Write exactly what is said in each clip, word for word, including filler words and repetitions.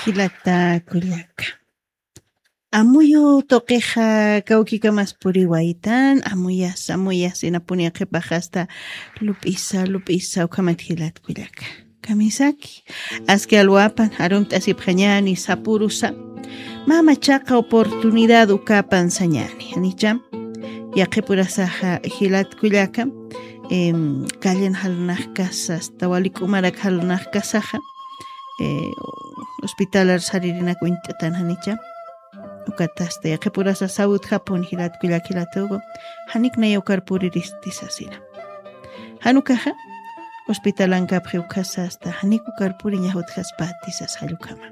Jilata kullaka. Amuyu tuqixa kawkikamas puriwaytan, amuyas, amuyas, inapuni qhipaxasta lup'isa, lup'isa, ukhamat jilat kullaka. Kamisaki, aski alwapan, arumt'asipxañani, sapurusa. Mama chaqa oportunidad ukapan sañani, janicha. Yaqhipurasaxa jilat kullaka, em, callen jalnaqkasa, hasta wali k'umarak jalnaqkasaxa, eh, hospitalar saririnak uñt'atan janicha. Ukatasta yaqhipurasa sawutjapun jilat kullak jilatuku, janik naya ukar puriristi sasina. Jan ukaxa, hospitalankapxi ukasa hasta janik ukar puriña jutjaspati sas jall ukhama.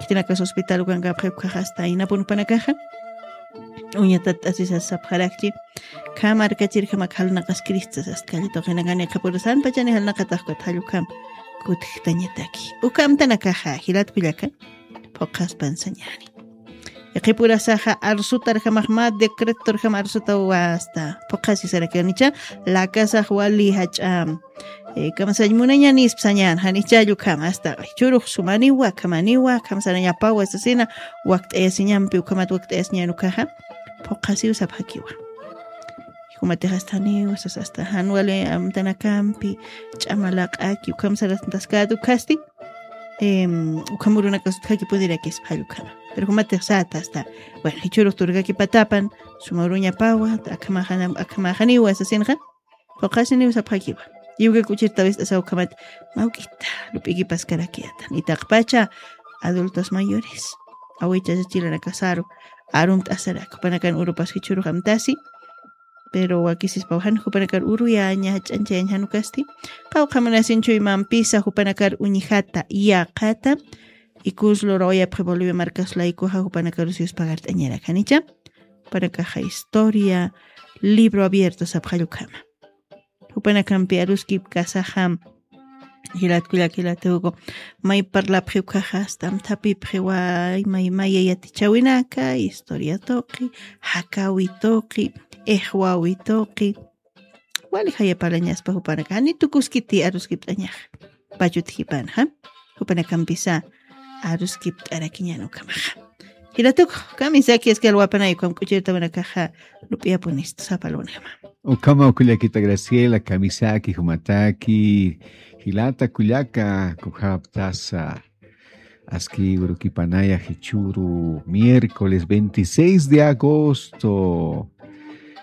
Khitinakas hospital ukankapxi ukhaxa hasta inapun jupanakaxa, uñatat t'asisas sapxarakchi, kham arkachirjamak jalnaqaskirista sas, calli tuqinakani qhapurasanpachani jalnaqatax ukat jall ukham kutjtañataki. Uka amtanakaxa, jilat kullaka, phuqhaspan sañani. Yaqhipurasaxa arsutarjamax mä decretorjam arsutawa hasta phuqhasisarakiwanicha, lakasax wali jach'a, eh, kamsañ munañanispa sañan, janicha jall ukham hasta jichhürux sumaniwa, akhamaniwa, akham sarañapawa sasina, wakt'ayasiñampi, ukhamat wakt'ayasiñan ukaxa, phuqhasiw sapxakiwa. Jumatix hasta janiw sas, hasta jan wali amtanakampi, ch'ama laq'aki, ukham sarastaskäta ukhasti, em, ukham urunakas utjakipunirakispxall ukhama. Pero jumatix säta hasta, bueno, jichhürux turkakipatapan, suma uruñapawa, akhamaxana-, akhamaxaniwa sasinxa, phuqhasiniw sapxakiwa. Iwka kuchir tawist'asaw ukhamat, mä juk'ita lup'ikipaskarakiyätan. Itaqpacha adultos mayores, awichasa chilanakasaru, arumt'asarak, jupanakan urupas jichhürux amtasi, pero wakisispaw jan jupanakar uruyaña, jach'añchayañ jan ukasti. Qawqha munasin chuymampisa jupanakar uñjata, yäqata, ikus lurawayapxi Bolivia markas laykuxa jupanakarusi yuspagart'añarak janicha. Jupanakaxa historia, libro abierto sapxall ukhama. Jupanakampi aruskipkasaxa, jilat kullak jilatuku, may parlapxi ukhaxa, hasta amthapipxiwa, may, maya yatichäwinaka, historia tuqi, jakäwi tuqi, ixwäwi tuqi. Wali jaya parlañaspa jupanaka, jani tukuskiti aruskipt'añaxa. Pachut jipanxa, jupanakampisa aruskipt'arakiñan ukhamaxa. Jilatuku, kamisaki aski alwapanay ukham kuchir tawinakaxa lup'iyapunistu sapa alwanjama. Ukhama kullakita Graciela, kamisaki, jumataki, jilata kullaka, kukxaptasa, aski urukipanaya jichhüru miércoles veintiséis de agosto.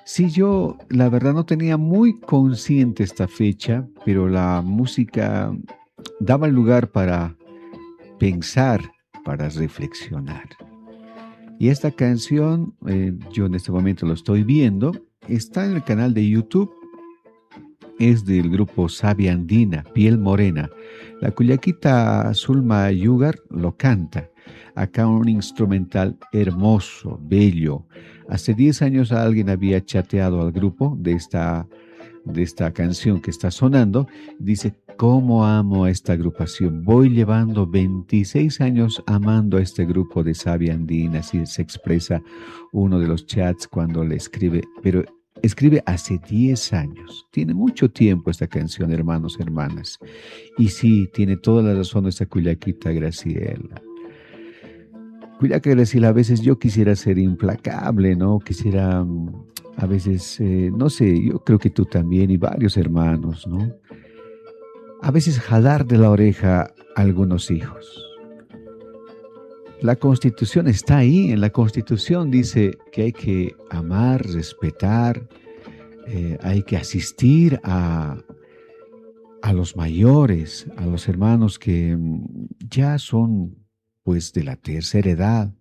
Sí, yo la verdad no tenía muy consciente esta fecha, pero la música daba lugar para pensar, para reflexionar. Y esta canción, eh, yo en este momento lo estoy viendo, está en el canal de YouTube, es del grupo Sabia Andina, Piel Morena. La cullaquita Zulma Yugar lo canta. Acá un instrumental hermoso, bello. Hace diez años alguien había chateado al grupo de esta, de esta canción que está sonando. Dice, "Cómo amo a esta agrupación. Voy llevando veintiséis años amando a este grupo de Sabia Andina", así se expresa uno de los chats cuando le escribe, pero escribe hace diez años. Tiene mucho tiempo esta canción, hermanos, hermanas. Y sí, tiene toda la razón esta cullaquita Graciela. Cullaca Graciela, a veces yo quisiera ser implacable, ¿no? Quisiera, mm, a veces, eh, no sé, yo creo que tú también y varios hermanos, ¿no? A veces jalar de la oreja a algunos hijos. La Constitución está ahí, en la Constitución dice que hay que amar, respetar, eh, hay que asistir a, a los mayores, a los hermanos que, mm, ya son, pues, de la tercera edad.